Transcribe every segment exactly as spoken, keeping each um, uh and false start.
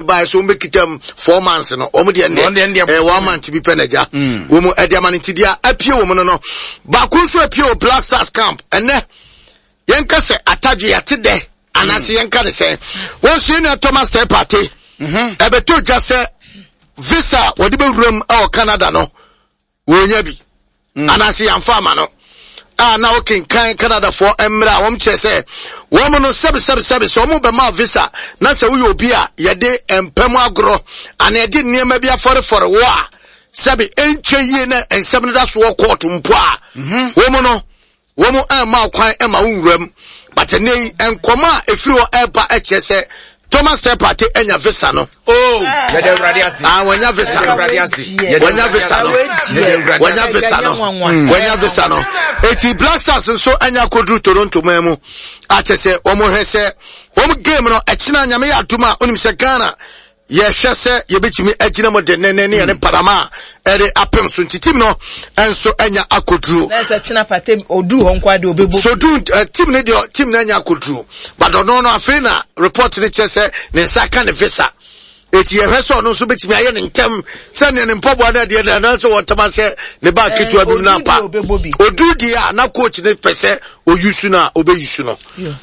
baeɛ sɛ wɔn bɛkita mu four months no, wɔn deɛ Wɔn deɛ deɛ ɛyɛ one month bi pɛ na gya wɔn ɛde ama no. Nti deɛ apue wɔn no no baako nso apue wɔ Black Stars camp ɛnɛ, yɛnka sɛ atadwe yɛate dɛ anaasɛ yɛnka ne sɛ wɔn nso yɛn nua Thomas Teye Partey ɛbɛtɔ dwa sɛ visa a wɔde bɛwura mu ɛwɔ Canada no, wɔnya bi anaasɛ yɛamfa ama no a, na wokenkan Canadafoɔ mmerɛ a wɔn kyerɛ sɛ wɔn no sɛbi sɛbi sɛbi sɛ wɔn bɛma visa na sɛ woyɛ obi a yɛde mpɛm agorɔ anaa yɛde nneɛma bi afɔrefɔre wɔ a, sɛbi ɛntwa yie na nsɛm no da so wɔ court mpo a, wɔn no wɔn ɛmma kwan ɛma wo nwura mu. But ɛnɛ yi nkɔmɔ a efiri hɔ ɛreba ɛkyerɛ sɛ Thomas Teye Partey ɛnya visa no. Oh, yɛde Awurade ase. Ah, wɔnya visa Yɛde no. Awurade ase. Yɛde Wɔnya visa no. Yɛde Awurade Wɔnya visa no. Wɔnya visa no. Eti Black Stars nso anya koduru Toronto man mu akyɛ sɛ wɔn hwɛ sɛ wɔn game no ɛkyina, Nyame yɛ adum a, onim sɛ Ghana yɛhwɛ sɛ yɛbɛtumi agyina mu de nene ne yɛne Panama a ɛde apem so, nti team no nso anya akoduru. Na sɛ kyena Partey oduru hɔ nko ade obɛbɔ. So du uh, team ne deɛ, team no anya akoduru, but ɔno no afei na report ne kyerɛ sɛ ne nsa ka ne visa, eti yɛhwɛ sɛ ɔno nso bɛtumi ayɛ ne ntɛm sɛnea ne mpɔboa no adeɛ no anaasɛ wɔntɛm ahyɛ ne ba ketewa bi mu no oduru apa. deɛ ɔbɛbɔ bi. Oduru deɛ a na coach ne pɛ sɛ oyusu no a, ɔbɛyusu no.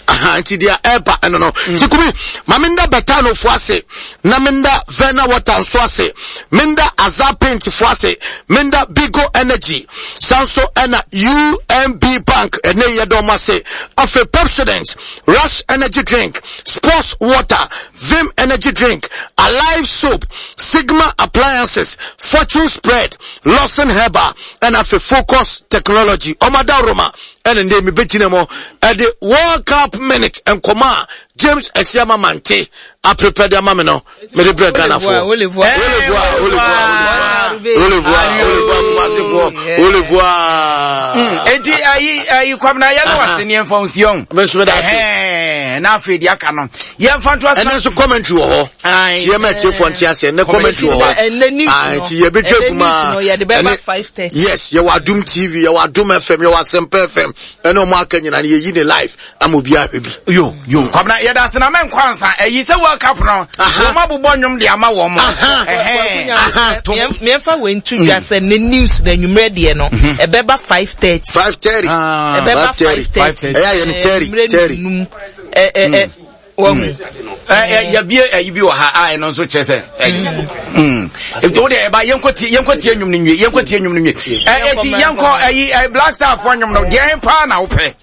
Aha, nti deɛ ɛba ɛno no nti kumi ma menda Betano ase na menda Verna Water nso ase, menda Azar Paint fo ase, menda Bigo Energy san so, ɛna U M B Bank ɛne yɛ dɔm ase, afei Pepsodent, Rush Energy Drink, Sports Water, Vim Energy Drink, Alive Soap, Sigma Appliances, Fortune Spread, Lawson Herbal, ɛna afei Focus Technology ɔmada Roma. Ɛna ndé mi bɛgyina mu ɛde World Cup minute nkɔmɔ a James Asiama Mante aprepare de ama mi no, mede brɛ Ghanafoɔ. Olevua. Olevua, olevua, olevua, olevua, Kumasefoɔ, olevua. Eti ayi ayi Kwamina, yɛn no wase ne yɛmfa nsion. Me nso meda ase. Ɛhɛn, na afei deɛ aka no yɛmfa nto ase. Ɛnɛ nso commentary wɔ hɔ. Aye. Tiɛ ma tiefoɔ nte aseɛ, ɛnɛ commentary wɔ hɔ. Ɛnɛ news Ah, no. nti yɛbɛtwa Ɛnɛ gu mu news no, a yɛde bɛba ɛne- five thirty. Yes, yɛwɔ Adum T V, yɛwɔ Adum F M, yɛwɔ Asɛmpa F M, ɛne ɔmo aka nyinaa no, yɛyi ne live ama obiara hwɛ bi. Yo yo, Kwamina, yɛda ase na mɛnkɔ ansa ɛyi sɛ World Cup no Aha. wɔn abobɔ nnwom de ama wɔn. Aha. Ɛhɛn. Aha. Mmiɛnfa wei nto dwa sɛ ne news na enwummerɛ deɛ no ɛbɛba five thirty. Five thirty. Ah. Ɛbɛba five thirty. five thirty. Ɛyɛ ayɛ ne thirty, thirty. Num ɛ ɛ ɛ wɔn. Ɛ ɛ yɛbie ɛyi bi wɔ ha a ɛno nso kyerɛ sɛ ɛyi mm ebi o deɛ ɛba, yɛnkɔ tie, yɛnkɔ tie nnwom no nwie, yɛnkɔ tie nnwom no nwie. Ɛ eti yɛnkɔ ɛyi ɛ Black Star fɔ nnwom no deɛ paa na wopɛ.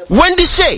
Wendy Shay.